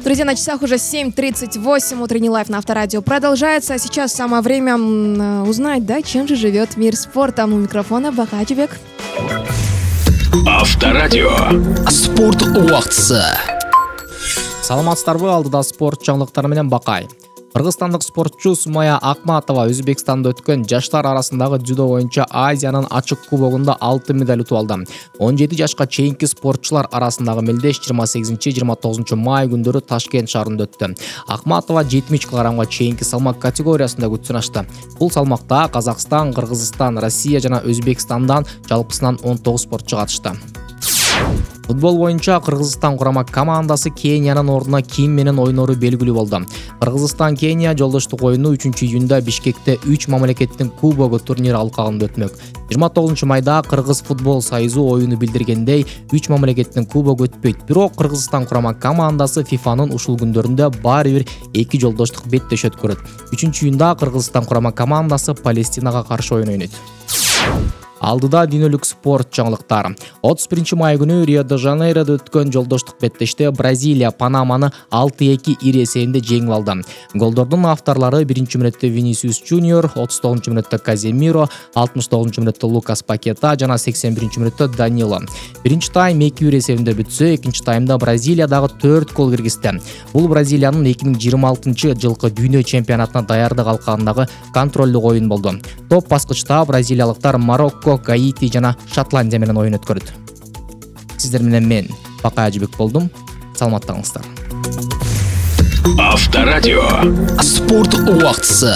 Друзья, на часах уже 7:38. Утренний лайв на Авторадио продолжается. А сейчас самое время узнать, да, чем же живет мир спорта. У микрофона Бакачбек. Авторадио. Спорт убактысы. Саламатсыздарбы, алдыда спорт жаңылыктары менен Бакай. Кыргызстандык спортчу Сумая Акматова Өзбекстанда өткөн жаштар арасындагы дзюдо боюнча Азиянын ачык кубогунда алтын медаль утуп алды. 17 жашка чейинки спортчулар арасындагы мелдеш 28-29 май күндөрү Ташкент шаарында өттү. Акматова 70 кг чейинки салмак категориясында күчүн ачты. Бул салмакта Казакстан, Кыргызстан, Россия жана Өзбекстандан жалпысынан 19 спортчу катышты. Футбол боюнча Кыргызстан курама командасы Кениянын ордуна ким менен ойнору белгилүү болду. Кыргызстан-Кения жолдоштук оюну 3-июнда Бишкекте 3 мамлекеттин кубогу турнир алкагында өтмөк. 29 майда Кыргыз футбол союзу оюну билдиргендей 3 мамлекеттин кубогу өтпөйт. Бирок Кыргызстан курама командасы ФИФАнын ушул күндөрүндө баары бир 2 жолдоштук беттешөт көрөт. 3-июнда Кыргызстан курама командасы Палестинага каршы оюн ойнойт. Алдыда дүйнөлүк спорт жаңылыктары. 31 май күнү Рио-де-Жанейродо өткөн жолдоштук беттеште Бразилия Панаманы 6-2 ири эсебинде жеңип алды. Голдордун авторлору 1-мүнөттө Винисиус Junior, 39-мүнөттө Каземиро, 69-мүнөттө Лукас Пакета жана 81-мүнөттө Данило. Биринчи тайм 2-1 эсебинде бүтсө, экинчи таймда Бразилия дагы 4 гол киргизди. Бул Бразилиянын 2026-жылкы дүйнө чемпионатына даярдык алкагындагы контролдук оюн болду. Топ баскычта бразилиялыктар Марокко, Гаити жана Шотландия менен оюн өткөрөт. Сиздер менен мен Бакай Ажыбек болдум. Саламаттаңыздар. Авторадио. Спорт убактысы.